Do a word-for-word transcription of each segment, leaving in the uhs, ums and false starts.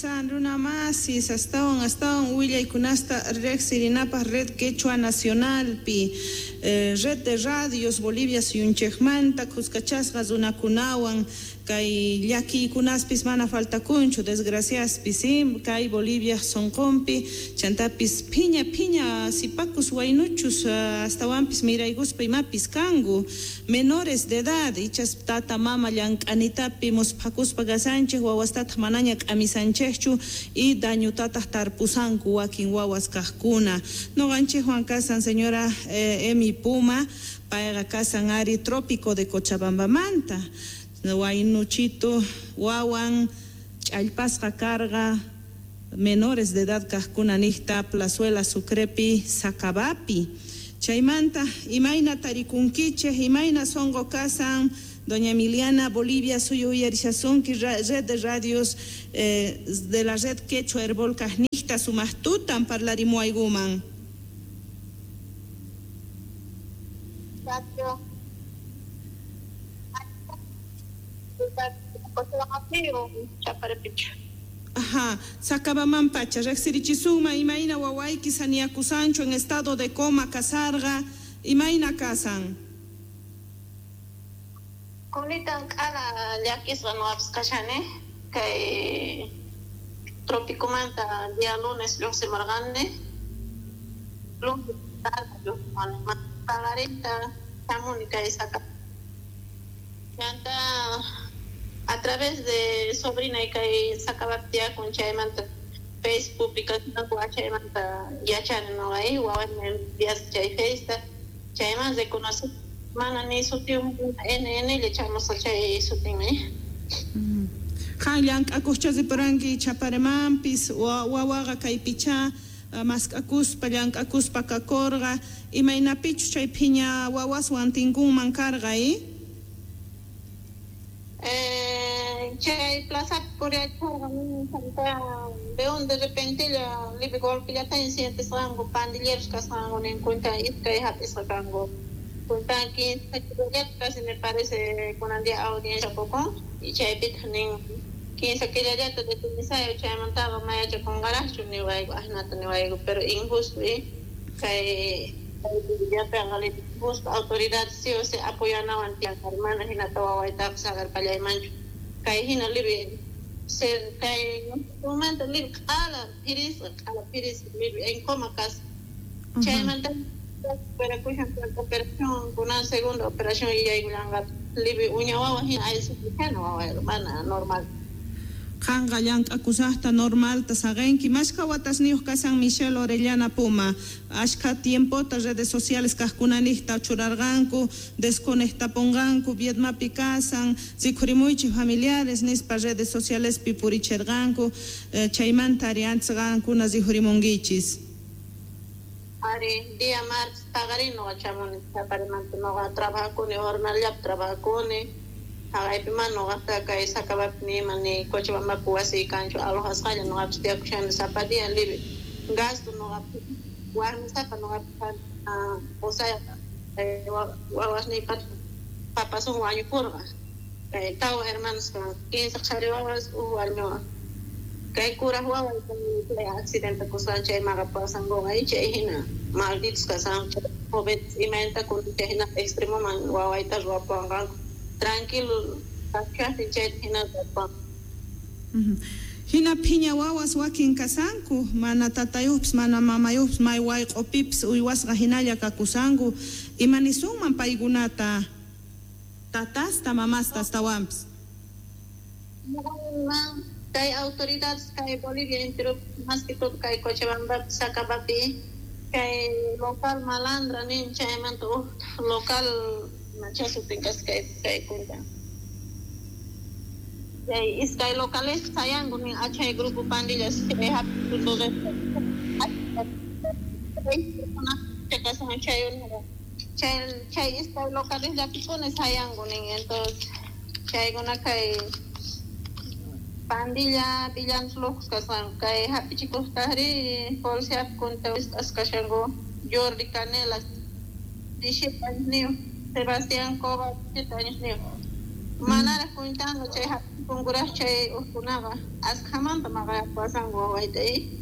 Runa masis astawan astawan willaykunasta riqsirinapaq Red Quechua Nacionalpi, eh, Red de Radios Bolivia suyunchikmanta kuskachasqa runakunawan kay llakiykunaspis mana faltakunchu desgraciaspis, ¿sí? Kay Bolivia sunqunpi chantapis phiña phiña sipakus waynuchus astawanpis miraykuspa imapis kanku menores de edad ichas tata mama llank'anitapi musphakuspa kasanchik wawastataq manaña k'amisanchikchu y dañutataq tarpusanku wakin wawas kaqkuna. Nuqanchikwan kasan señora eh, Emi Puma, payqa kasan ari Trópico de Cochabambamanta waynuchitu wawan ch'allpasqa karqa menores de edad kaqkuna niqta Plazuela Sucrepi Sakabapi. Chaymanta imayna tarikunkichik, imayna sunqu kasan doña Emiliana, Bolivia suyu uyarishasunki red de radios eh, de la red Quechua Herbol kaqniqta sumaq tutan parlarimuaykuman. Ajá, Sacabaman pacha, riqsirichisunman imayna wawayki saniyakusanchu en estado de coma kasarqa, imayna kasan? Kulitan k'ala llakisqa nuqapas kashani, kay Tropicomanta día lunes lluqsimurqani, lunes tarde lluqsimurqani, paqarinta hamuni kay Saca. Chanta a través de sobrina y kay Sacabapi tiyakun chaymanta Facebook publicacionku chaymanta yachani nuqa wawaymi enviasqa chay Faceta chayman reconocí mana ni sutiyuq N N lla chamusqa chay sutinmi. Qan llank'akuqcha ripuranki Chaparemanpis wawaqa kaypichá mask'akuspa llank'akuspa kakurqa imaynapichus chay phiña wawaswan tinkunman karqa y? Eh, chay plazapi puriachkarqa veo de repente lla libre golpellata sientesqanku pandilleros kasqanku ninkunta iskay hap'isqa kanku kunta quince casi me parece kunan día audiencia pukun y chaypitaq nin quince killallata detenisayo chaymantaqa mayachakunqaraqchu niwayku asnata niwayku pero injusto y kay justo autoridad sí o sí apoyanawan tiyan mana hinata wawaytaqa saqerpallaymanchu kay hina libre se kay momento libre q'ala phirisqa q'ala phirisqa libre en coma kasqa chaymanta operakushan operación kunan segunda operación yaykullanqa libre uña wawa hina aysukuchana wawayqa mana normal. Qanqa llank'akusaqta normalta saqinki mashkha watasniyuq kasan Michelle Orellana Puma ashkha tiempota redes sociales kaqkunaniqta churarqanku desconectapunqanku Vietmapi kasan rikhurimuychik familiares nispa redes socialespi purichirqanku eh, chaymanta ari antes qankuna rikhurimunkichis. Ari día martes paqarin nuqa chamuni Chaparimanta nuqa trabajakuni jornalllapi trabajakuni haqaypi mana nuqaqta kay Sacabapi nima ni Cochabambapi wasiy kanchu alojasqalla nuqapis tiyakushani sapa día libre gasto nuqapi warmisapa nuqapi qusayqa wawasniypata papasun wañupurqa kay tawa hermanos kan quince qhari wawas huk warmi wawa kay kuraq waway chay accidente kusqan chay maqapasankuqa chay hina malditos kasanku jóvenes imaynata kunan chay hina extremoman wawayta ruwapuwanqanku tranquilo kashaqtin chayta hina ruwapuwanqanku. Hina phiña wawas wakin kasanku mana tatayuqpis mana mamayuqpis may wayq'upipis uywasqa hinalla kakusanku imanisunman paykunata tatasta mamasta astawanpis. Kay autoridades kay Bolivia entero más que todo kay Cochabambapi Sacabapi kay local malandra nin chaymanta huk local machasutin kasqa kay kay kunta chay iskay locales sayanku nin achay grupo pandillas chay hap'ikuq chay chay chay iskay locales llapipuni sayanku nin entonces chaykuna kay pandilla villanos locos kasqanku kay hap'ichikuqtaqri policiapi kunta wisq'asqa kashanku Jordi Canelas diecisiete añosniyuq Sebastián Cova siete añosniyuq. Manaraq kuntanku chay hap'ipunkuraq chay ukkunaqa askhamanta maqayapasanku wawayta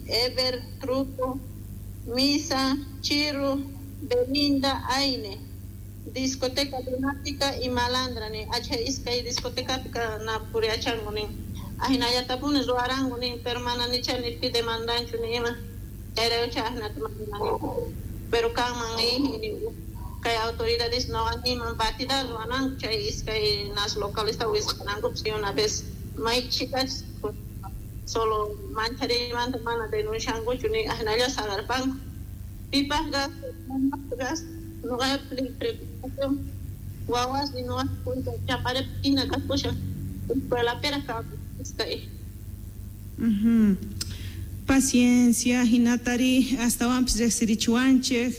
Ever, Truco, Misa, Chiru, Belinda, Aine, discoteca Lunática y Malandra ni acha iskay discotecapi na puriachanku nin ahinallatapuni ruwaranku nin pero mana nicha ni pi demandanchu ni ima chayrayku ahinata manani pero kanman kay autoridades no animan batida ruwananku chay iskay nas localista wisqanankupas y una vez may chicas solo mancharimanta mana denunciankuchu ni ahinalla sagarpanku pipaq gasto gas nuqa preocupación wawas ni nuqa kunta chaparepina kasqushan escuelapiraq iskay. Uh-huh. Paciencia hinatari astawanpis riqsirichiwanchik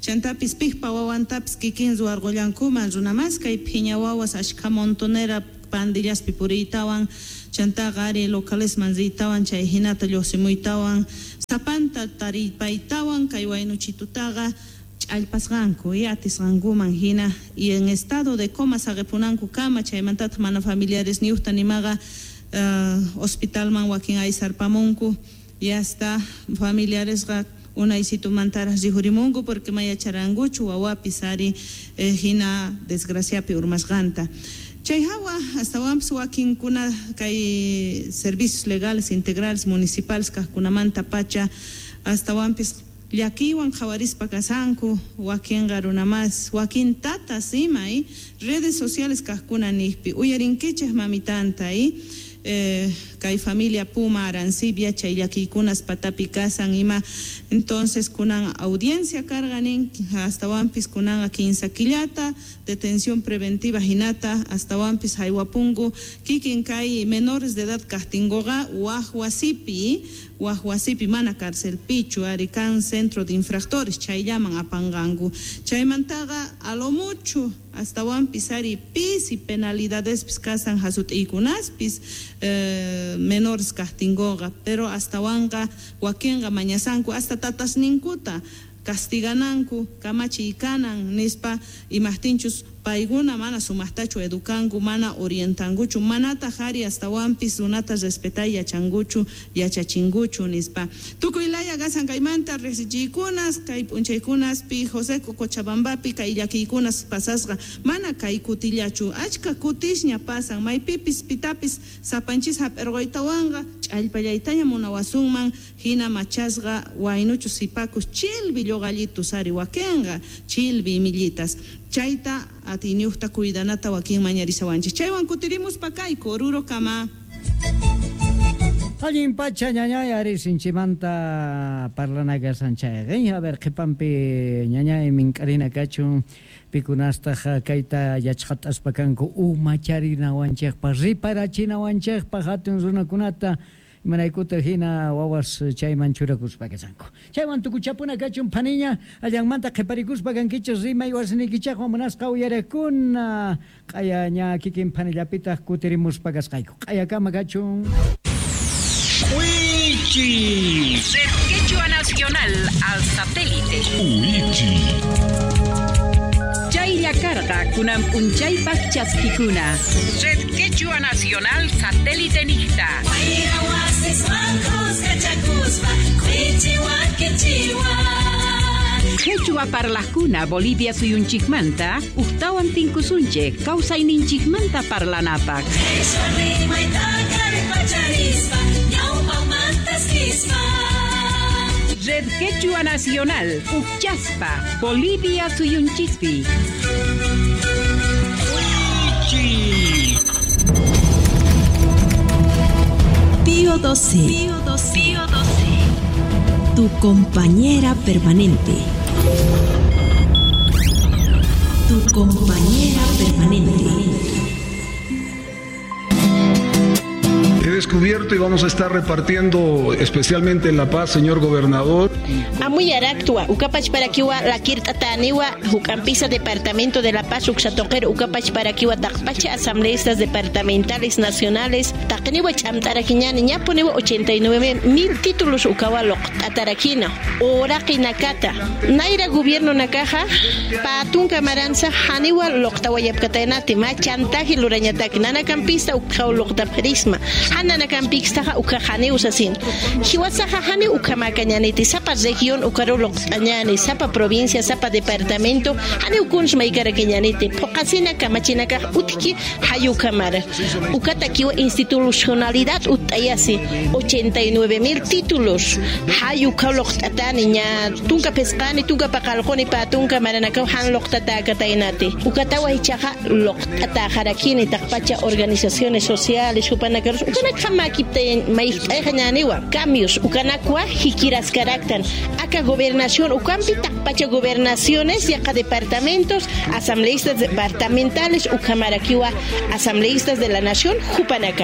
chantapis piqpa wawantapis kikin ruwarqullankuman runamas kay phiña wawas ashkha montonera pandillaspi puriytawan chantaqa ari localesman riytawan chay hinata lluqsimuytawan sapanta taripaytawan kay waynuchitutaqa ch'allpasqanku y atisqankuman hina y en estado de coma saqipunanku kama chaymantataq mana familiares niyuqta nimaqa uh, hospitalman wakin aysarpamunku y hasta familiaresqa unaysitumantaraq rihurimunku porque mayacharankuchu wawapis ari eh, hina desgraciapi urmasqanta. Chay hawa astawanpis wakinkuna kay servicios legales integrales municipales kaqkunamanta pacha astawanpis llakiywan qhawarispa kasanku wakinqa runamas wakin tatas ima y redes sociales kaqkuna niqpi uyarinkichik mamitanta y eh, kay familia Puma Arancibia chay llakiykunas patapi kasan ima entonces kunan audiencia karqa nin astawanpis kunanqa kinsa killata detención preventiva hinata astawanpis haywapunku kikin kay menores de edad kaqtinkuqa waq wasipi waq wasipi mana carcelpichu ari kan centro de infractores chayllaman apanqanku chaymantaqa a lo mucho astawanpis ari pisi penalidadespis kasan hasut'iykunaspis eh, menores kaqtinkuqa pero astawanqa wakinqa mañasanku hasta tatasninkuta castigananku kamachiy kanan nispa imaqtinchus paykuna mana sumaqtachu edukanku mana orientankuchu manataq ari astawanpis runata respetay yachankuchu yachachinkuchu nispa tukuy laya kasan kaymanta riqsichiykunas kay p'unchaykunaspi José Cochabambapi kay llakiykunas pasasqa mana kay kutillachu achka kutisña pasan maypipis pitapis sapanchis hap'irquytawanqa ch'allpallaytaña munawasunman hina machasqa waynuchu sipakus chilbi lluqallitus ari wakinqa chilbi imillitas chayta atiyniyuqta cuidanata wakin mañarisawanchik chaywan kutirimuspa kayku Oruro kama. Allin pacha ñañay ari sinchimanta parlana kasan chayqa a ver qhipanpi ñañay mink'arina kachun pikunastaq kayta yachqataspa kanku umacharinawanchikpaq riparachinawanchikpaq hatun runakunata imaraykuta hina wawas chayman churakuspa kasanku chaywan tukuchapuna kachun phaniña allanmanta qhiparikuspa kankichik rimay wasinikichaqwan munasqa uyarakuna q'aya ña kikin phanillapitaq kutirimuspa kasqayku q'ayakama kachun. Uichi. Red Quechua Nacional al satélite. Uichi. Chaylla karqa kunan p'unchaypaq chaskikuna. Red Quechua Nacional satélite niqta. Quechua parlaqkuna Bolivia suyunchikmanta uqtawan tinkusunchik kawsayninchikmanta parlanapaq. Red Quechua Nacional, Uchaspa, Bolivia suyunchikpi. Pío doce. Pío doce. Pío doce. Tu compañera permanente. Tu compañera permanente. He descubierto y vamos a estar repartiendo, especialmente en La Paz, señor gobernador. Amuyaraktua, ukapach parakiwa lakirtataniwa, Jucampisa Departamento de La Paz, Uxatoquero, ukapach parakiwa takpacha asambleístas departamentales nacionales, taqniwa ch'amtarakiñani, ñapuniwa ochenta y nueve mil títulos ukawa loqt'atarakina, oraqi nakata, naira gobierno nakaja, patunka maranza, haniwa loqtawayapkataynati, ma chantaje lurañataki, nanakampista ukaw loqtaprisma, hananakampixtaja uka hani usasin, hiwasaja hani ukamakañaniti, sapa región ukaru loqt'añani, sapa provincia, sapa departamento, hani ukuns maykarakiñaniti, puqasina kamachinakaj utki hayukamara, ukata kiwa institucionalidad utayasi, ochenta y nueve mil títulos, hayuka loqt'atani, ña tunka pesqani, tunka paqalquni patunka maranakaw han loqtatakataynati, ukatawa hichaqa loqt'atajarakini taqpacha organizaciones sociales, hupanakaros, ukanaka makiptay mayq'ayqañaniwa, cambios, ukanakwa hikiraskaraktan, aka gobernación, ukampi taqpacha gobernaciones, yaqa departamentos, asambleístas departamentales, ukamarakiwa asambleístas de la nación, hupanaka.